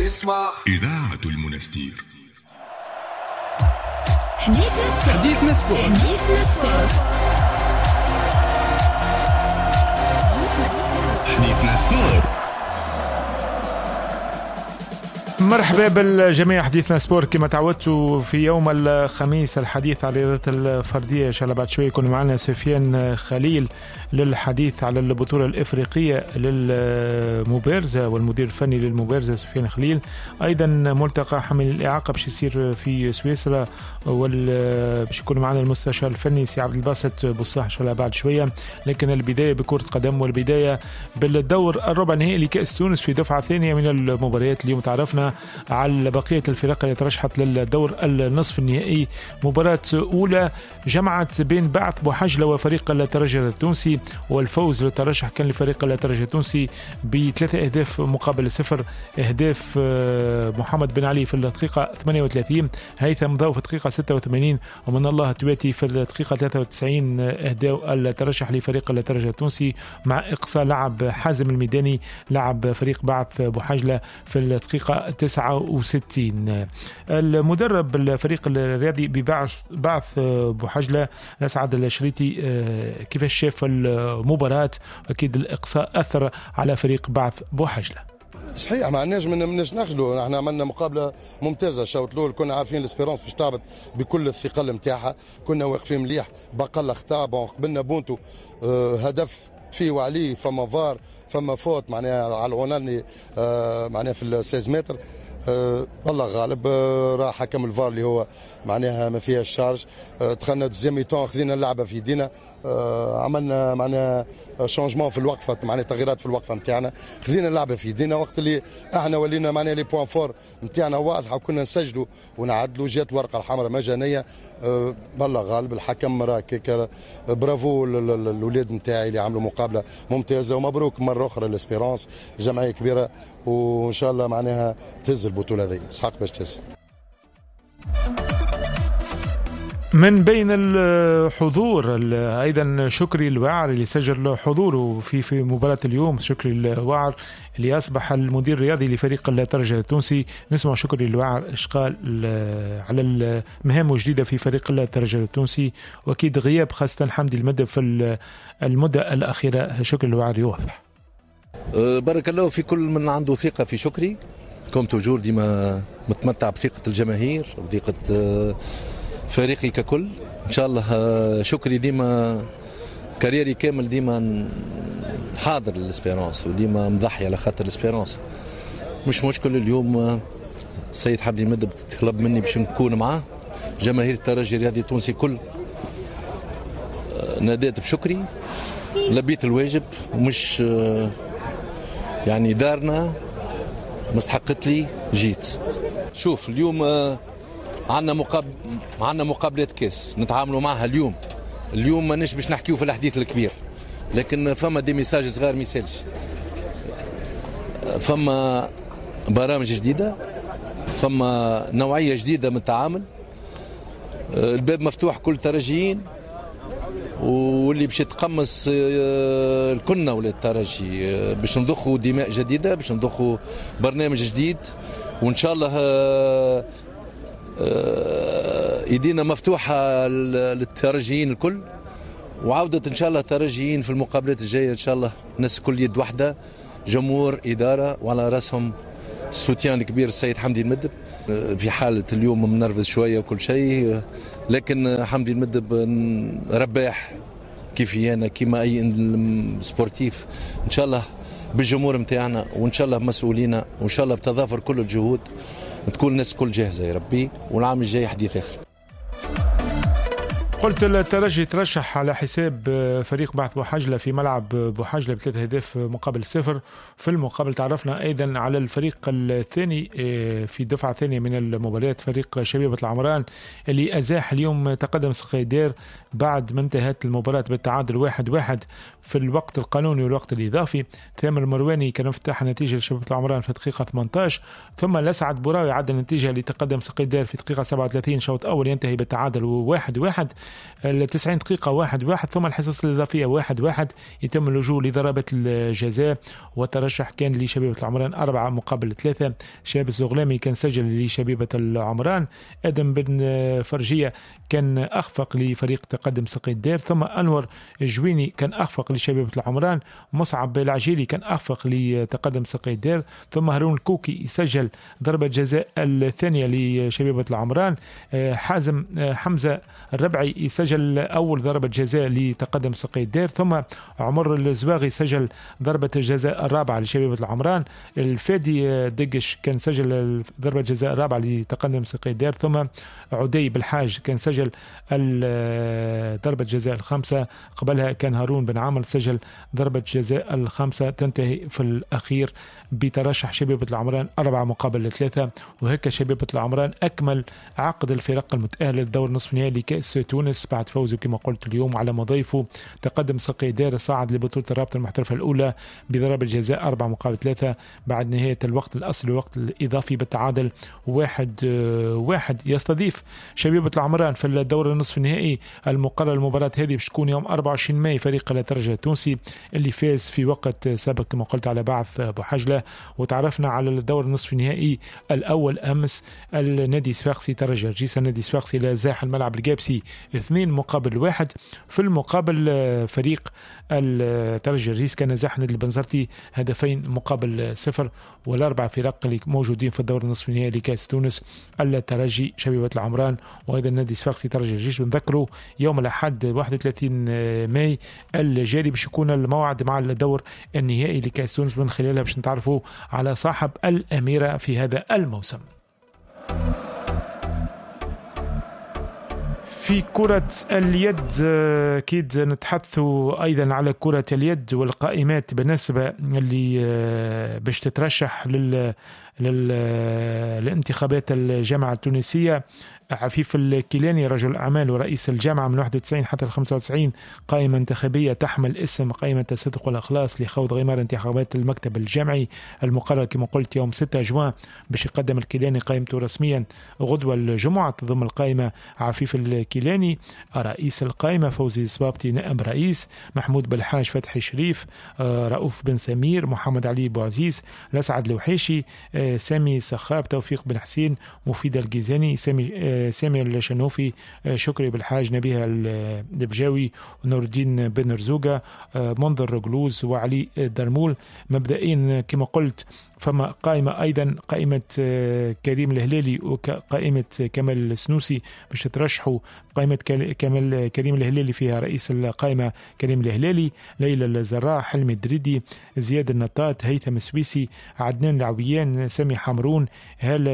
اسمع إذاعة المنستير. حديثنا sport. حديثنا sport. حديثنا sport. مرحبا بالجميع. حديثنا sport كما تعودتوا في يوم الخميس الحديث على الرياضات الفردية. إن شاء الله بعد شوي يكون معنا سفيان خليل للحديث على البطولة الإفريقية للمبارزة والمدير الفني للمبارزة سفيان خليل. أيضا ملتقى حامل الإعاقة باش يصير في سويسرا، باش يكون معنا المستشار الفني سي عبد الباسط بوصلاح إن شاء الله بعد شوية. لكن البداية بكرة قدم، والبداية بالدور الربع النهائي لكأس تونس في دفعة ثانية من المباريات. اليوم تعرفنا على بقية الفرق اللي ترشحت للدور النصف النهائي. مباراة أولى جمعت بين بعث بوحجلة وفريق الترجي التونسي، والفوز للترشح كان لفريق الترجي التونسي ب3 أهداف مقابل 0. أهداف محمد بن علي في الدقيقة 38، هيثم ضو في الدقيقة 86، ومن الله تواتي في الدقيقة 93 أهداف الترشح لفريق الترجي التونسي، مع إقصاء لعب حازم الميداني لعب فريق بعث بوحجلة في الدقيقة 69. المدرب الفريق الرياضي ببعث بوحجلة أسعد الشريتي كيفاش شاف المباراة؟ أكيد الإقصاء أثر على فريق بعث بوحجلة. صحيح، ما عندناش مناش نخلو. احنا عملنا مقابله ممتازة الشوط الاول، كنا عارفين l'Espérance باش تعبط بكل الثقل نتاعها، كنا واقفين مليح بقل اخطاء. قبلنا بونتو هدف فيه وعليه، فما فار فما faute معناها على العناني معناها في 16 متر. الله غالب، راح حكم الفار اللي هو معناها ما فيهاش charge. دخلنا deuxième mi-temps، خذينا اللعبة في يدينا، عملنا معناها changement في الوقفة، معناها تغييرات في الوقفة نتاعنا، خذينا اللعبة في يدينا. وقت اللي احنا ولينا معناها les points forts نتاعنا واضحة وكنا نسجلوا ونعدلوا، جات الورقة الحمراء مجانية. الله غالب الحكم راه كيك. برافو للاولاد نتاعي اللي عملوا مقابله ممتازة، ومبروك مرة اخرى l'Espérance، جمعية كبيرة وان شاء الله معناها تهز البطولة هذه، تسحق باش تهز. من بين الحضور ايضا شكري الواعر اللي سجل حضوره في مباراة اليوم. شكري الواعر اللي اصبح المدير الرياضي لفريق الترجي التونسي. نسمع شكري الواعر ايش قال على المهام الجديدة في فريق الترجي التونسي، واكيد غياب خاصة حمدي المدب في المدة الاخيرة. شكري الواعر يوضح. بارك الله في كل من عنده ثقة في شكري، comme toujours ديما متمتع بثقة الجماهير بثقة فريقي ككل. ان شاء الله شكري ديما carrière ي كامل ديما حاضر لل Espérance وديما مضحي على خاطر ال Espérance. مش مشكل. اليوم السيد حمدي المدب طلب مني باش نكون معاه. جماهير الترجي الرياضي التونسي كل ناديت بشكري، لبيت الواجب، ومش يعني دارنا مستحقت لي جيت. شوف اليوم عندنا مقابلات كاس نتعاملوا معها اليوم. اليوم ماناش باش نحكيو في الحديث الكبير، لكن فما des messages صغار ميسالش، فما برامج جديدة، فما نوعية جديدة من التعامل. الباب مفتوح كل ترجيين، واللي باش يتقمص الكنة ولا الترجي، باش نضخوا دماء جديدة، باش نضخوا برنامج جديد، وان شاء الله ايدينا مفتوحة للترجيين الكل، وعوده ان شاء الله الترجيين في المقابلات الجاية ان شاء الله الناس كل يد واحدة، جمهور، ادارة، وعلى راسهم السوتيان الكبير السيد حمدي المدب. في حاله اليوم منرفز شوية وكل شيء، لكن حمدي المدب رباح كيفي انا كيما اي sportif. ان شاء الله بالجمهور نتاعنا، وان شاء الله بمسؤولينا، وان شاء الله بتضافر كل الجهود تكون الناس كل جاهزة يا ربي، والعام الجاي حديث اخر. قلت الترجي ترشح على حساب فريق بعث بوحجلة في ملعب بوحجلة ب3 أهداف مقابل 0. في المقابل تعرفنا أيضا على الفريق الثاني في دفعة ثانية من المباريات، فريق شبيبة العمران اللي أزاح اليوم تقدم سقيدير بعد ما انتهت المباراة بالتعادل 1-1 في الوقت القانوني والوقت الإضافي. ثامر المرواني كان مفتاح النتيجة لشبيبة العمران في دقيقة 18، ثم لسعد براوي عدل النتيجة لتقدم سقيدير في دقيقة 37 شوط أول ينتهي بالتعادل 1-1. 90 دقيقة 1-1، ثم الحصص الإضافية 1-1، يتم اللجوء لضربة الجزاء، والترشح كان لشبيبة العمران 4-3. شاب الزغلامي كان سجل لشبيبة العمران، آدم بن فرجية كان أخفق لفريق تقدم سقي الدير، ثم أنور جويني كان أخفق لشبيبة العمران، مصعب العجيلي كان أخفق لتقدم سقي الدير، ثم هارون الكوكي يسجل ضربة جزاء الثانية لشبيبة العمران، حازم حمزة الربعي يسجل أول ضربة جزاء لتقدم سقي الدير، ثم عمر الزواغي سجل ضربة الجزاء الرابعة لشبيبة العمران، الفادي دقش كان سجل ضربة جزاء الرابعة لتقدم سقي الدير، ثم عدي بالحاج كان سجل ضربة جزاء الخامسة، قبلها كان هارون بن عامر سجل ضربة جزاء الخامسة. تنتهي في الأخير بترشح شبيبة العمران 4-3، وهكا شبيبة العمران أكمل عقد الفرق المتأهلة للدور نصف النهائي لكأس تونس بعد فوزه كما قلت اليوم على مضيفه تقدم سقي دار، صعد لبطولة الرابطة المحترفة الأولى بضربة جزاء 4-3 بعد نهاية الوقت الأصلي والوقت الإضافي بالتعادل 1-1. يستضيف شبيبة العمران في الدور النصف النهائي المقرر المباراة هذه باش تكون يوم 24 ماي فريق الترجي التونسي اللي فاز في وقت سابق كما قلت على بعث بوحجلة. وتعرفنا على الدور النصف النهائي الأول أمس، النادي الصفاقسي ترجي جرجيس، النادي الصفاقسي لازاح الملعب الجابسي 2-1. في المقابل فريق الترجي جرجيس كان زاح نادي البنزرتي 2-0. والأربع فرق اللي موجودين في الدور النصف النهائي لكأس تونس الترجي، شبيبة العمران، وأيضا النادي الصفاقسي ترجي جرجيس. بنذكروا يوم الأحد 31 ماي الجاري باش يكون الموعد مع الدور النهائي لكأس تونس، من خلالها باش نتعرفوا على صاحب الأميرة في هذا الموسم. في كرة اليد أكيد نتحدث أيضا على كرة اليد والقائمات بالنسبة اللي باش تترشح للانتخابات الجامعة التونسية. عفيف الكيلاني رجل أعمال ورئيس الجامعة من 91 حتى 95، قائمة انتخابية تحمل اسم قائمة الصدق والإخلاص لخوض غمار انتخابات المكتب الجامعي المقرر كما قلت يوم 6 جوان باش يقدم الكيلاني قائمته رسميا غدوة الجمعة. تضم القائمة عفيف الكيلاني رئيس القائمة، فوزي صبابتي نائب رئيس، محمود بالحاج، فتحي شريف، رؤوف بن سمير، محمد علي بوعزيز، لسعد الوحيشي، سامي سخاب، توفيق بن حسين، مفيد الجيزاني، سامي الشنوفي، شكري بالحاج، نبيه البجاوي، ونور الدين بن رزوقة، منظر جلوز، وعلي درمول. مبدئيا كما قلت فما قائمة أيضا، قائمة كريم الهلالي وقائمة كمال السنوسي باش ترشحوا. قائمة كريم الهلالي فيها رئيس القائمة كريم الهلالي، ليلى الزراع، حلمي الدريدي، زياد النطاط، هيثم السويسي، عدنان العويان، سامي حمرون، هالة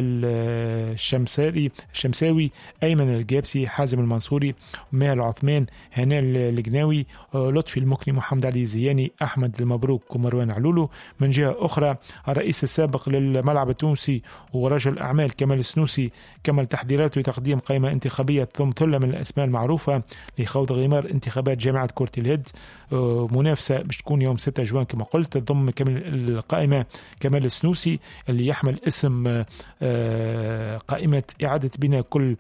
الشمساوي، أيمن الجابسي، حازم المنصوري، ماهر عثمان، هناء الجناوي، لطفي المكني، محمد علي زياني، أحمد المبروك، ومروان علولو. من جهة أخرى الرئيس السابق للملعب التونسي ورجل أعمال كمال السنوسي كمل تحضيراته لتقديم قائمة انتخابية تضم ثلة من الأسماء المعروفة لخوض غمار انتخابات جامعة كرة اليد. منافسة باش تكون يوم 6 جوان كما قلت، تضم القائمة كمال السنوسي اللي يحمل اسم قائمة إعادة بناء كل،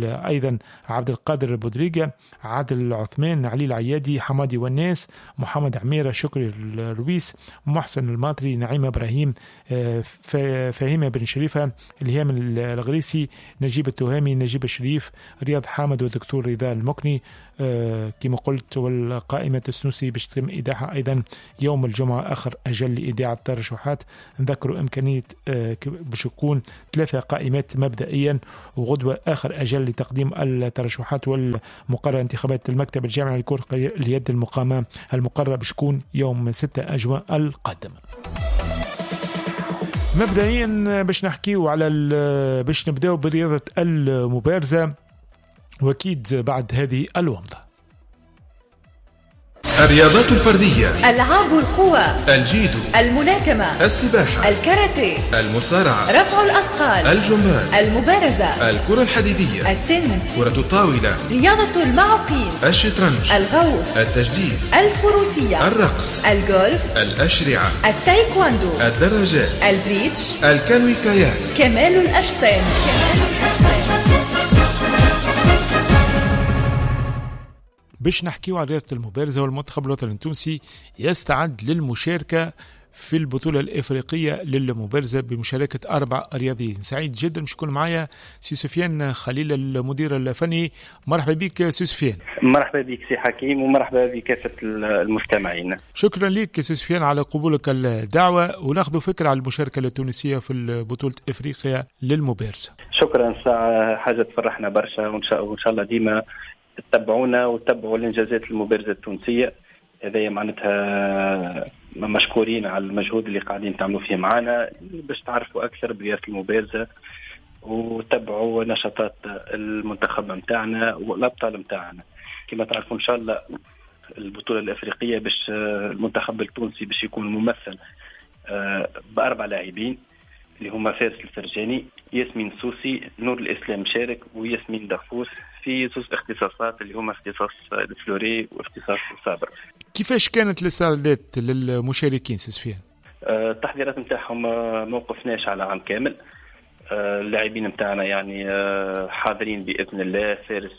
أيضا عبد القادر بودريجة، عادل عثمان، علي العيادي، حمادي والناس، محمد عميرة، شكري الرويس، محسن الماطري، نعيمة إبراهيم، فهيمة بن شريفة، الهام الغريسي، نجيب التهامي، نجيب الشريف، رياض حامد، والدكتور رضا المكني. كما قلت والقائمة السنوسي باش تتم إيداعها أيضا يوم الجمعة آخر أجل لإيداع الترشحات. نذكروا إمكانية باش يكون 3 قائمات مبدئيا، وغدوة آخر أجل لتقديم الترشحات والمقرر انتخابات المكتب الجامعي لكرة اليد المقامة المقررة باش تكون يوم 6 جوان القادم. مبدئيا باش نحكيو على باش نبداو برياضة المبارزة، وأكيد بعد هذه الومضة. الرياضات الفردية، ألعاب القوى، الجيدو، الملاكمة، السباحة، الكاراتيه، المصارعة، رفع الأثقال، الجمباز، المبارزة، الكرة الحديدية، التنس، كرة الطاولة، رياضة المعوقين، الشطرنج، الغوص، التجديف، الفروسية، الرقص، الجولف، الأشرعة، التايكواندو، الدراجات، البريدج، الكانوي كاياك، كمال الأجسام. باش نحكيو على رياضة المبارزة، والمنتخب الوطني التونسي يستعد للمشاركة في البطولة الإفريقية للمبارزة بمشاركة 4 رياضيين. سعيد جدا باش يكون معايا سي سفيان خليل المدير الفني. مرحبا بك سي سفيان. مرحبا بك سي حكيم ومرحبا بكافة المستمعين. شكرا لك سي سفيان على قبولك الدعوة، وناخذ فكرة على المشاركة التونسية في بطولة إفريقيا للمبارزة. شكرا، ساعة حاجة تفرحنا برشا، وإن شاء الله ديما تتبعونا وتتبعوا الإنجازات المبارزة التونسية. هذايا معناتها مشكورين على المجهود اللي قاعدين تعملوا فيه معنا باش تعرفوا أكثر برياضة المبارزة وتبعوا نشاطات المنتخب متاعنا والأبطال متاعنا. كما تعرفوا إن شاء الله البطولة الأفريقية باش المنتخب التونسي باش يكون ممثل ب4 لاعبين اللي هما فارس الفرجاني، ياسمين سوسي، نور الإسلام شارك، وياسمين دغفوس في زوج اختصاصات اللي هما اختصاص ال fleuret واختصاص ال sabre. كيفاش كانت الاستعدادات للمشاركين سي سفيان؟ التحضيرات نتاعهم ما وقفناش على عام كامل. اللاعبين نتاعنا يعني حاضرين باذن الله. فارس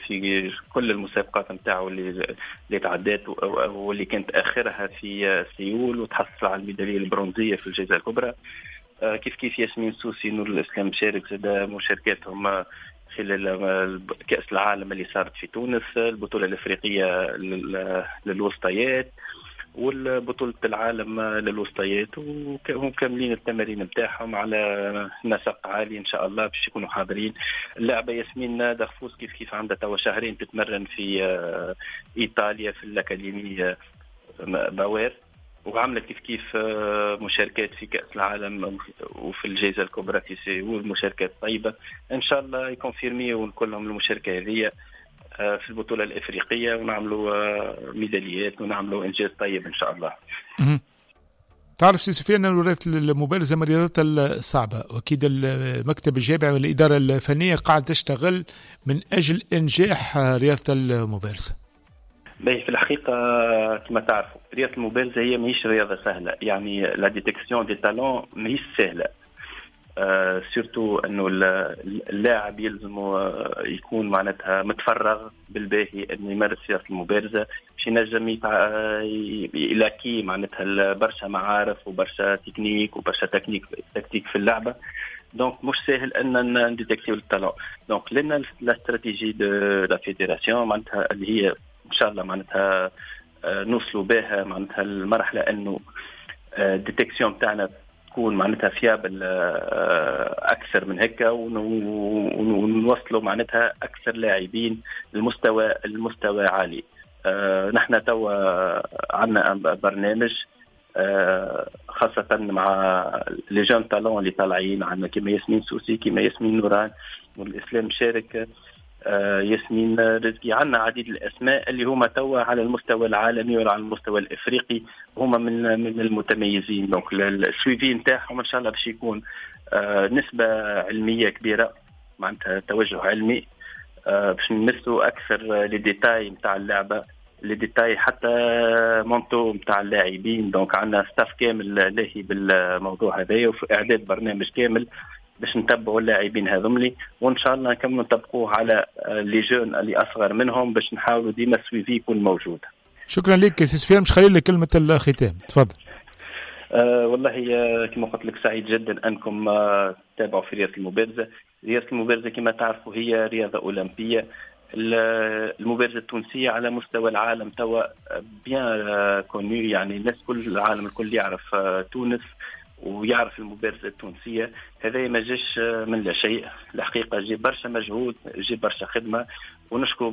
في كل المسابقات نتاعو اللي تعدات واللي كانت اخرها في سيول وتحصل على الميداليه البرونزيه في الجائزة الكبرى. كيف كيف ياسمين سوسي، نور الاسلام شارك زاد مشاركاتهم خلال كأس العالم اللي صارت في تونس، البطولة الأفريقية للوسطيات والبطولة العالم للوسطيات، وهم كاملين التمارين نتاعهم على نسق عالي إن شاء الله باش يكونوا حاضرين. اللاعبة ياسمين دغفوس كيف كيف عندها توا شهرين تتمرن في إيطاليا في الأكاديمية باوير، وعملت كيف كيف مشاركات في كأس العالم وفي الجائزة الكبرى في سيول، مشاركات طيبة إن شاء الله يكونفيرميو كلهم المشاركة هذه في البطولة الإفريقية ونعملوا ميداليات ونعملوا إنجاز طيب إن شاء الله. تعرف سي سفيان أن المبارزة من الرياضات الصعبة، وأكيد المكتب الجامعي والإدارة الفنية قاعد تشتغل من أجل إنجاح رياضة المبارزة. باهي، في الحقيقة كما تعرفوا رياضة المبارزة هي ماهيش رياضة سهلة، يعني la détection des talents ماهيش سهلة. surtout انه اللاعب يلزمه يكون معناتها متفرغ بالباهي انه يمارس رياضة المبارزة باش ينجم يلاقي معناتها برشا معارف وبرشا تكنيك وبرشا tactique في اللعبة. donc مش سهل ان نديتكتيو ال talent. donc لنا la stratégie de la fédération معناتها اللي هي ان شاء الله معناتها نوصلوا بها معناتها المرحلة انه détection تاعنا تكون معناتها fiable اكثر من هكا، ونوصلوا معناتها اكثر لاعبين المستوى عالي. نحن توا عندنا برنامج خاصة مع les jeunes talents اللي طالعين عندنا كيما ياسمين سوسي، كيما ياسمين نوران، والاسلام شارك، ياسمين رزقي. عندنا عديد الاسماء اللي هما توا على المستوى العالمي وعلى المستوى الافريقي هما من المتميزين. donc ال suivi نتاعهم ان شاء الله باش يكون نسبه علمية كبيرة، معناتها توجه علمي باش نمسوا اكثر les détails نتاع اللعبة، les détails حتى mentaux نتاع اللاعبين. donc عندنا staff كامل لاهي بالموضوع هذايا وفي اعداد برنامج كامل باش نتبعوا اللاعبين هذوملي، وان شاء الله نكملوا نطبقوه على les jeunes اللي اصغر منهم باش نحاولوا ديما suivi يكون موجود. شكرا لك سي سفيان، مش خليل لك كلمة الختام، تفضل. والله كما قلت لك سعيد جدا انكم تتابعوا في رياضة المبارزة. رياضة المبارزة كما تعرفوا هي رياضة اولمبيه. المبارزة التونسية على مستوى العالم توا bien connue، يعني الناس كل العالم الكل يعرف تونس ويعرف المبارزة التونسية. هذا ما جاش من لا شيء، الحقيقة جي برشا مجهود، جي برشا خدمة، ونشكر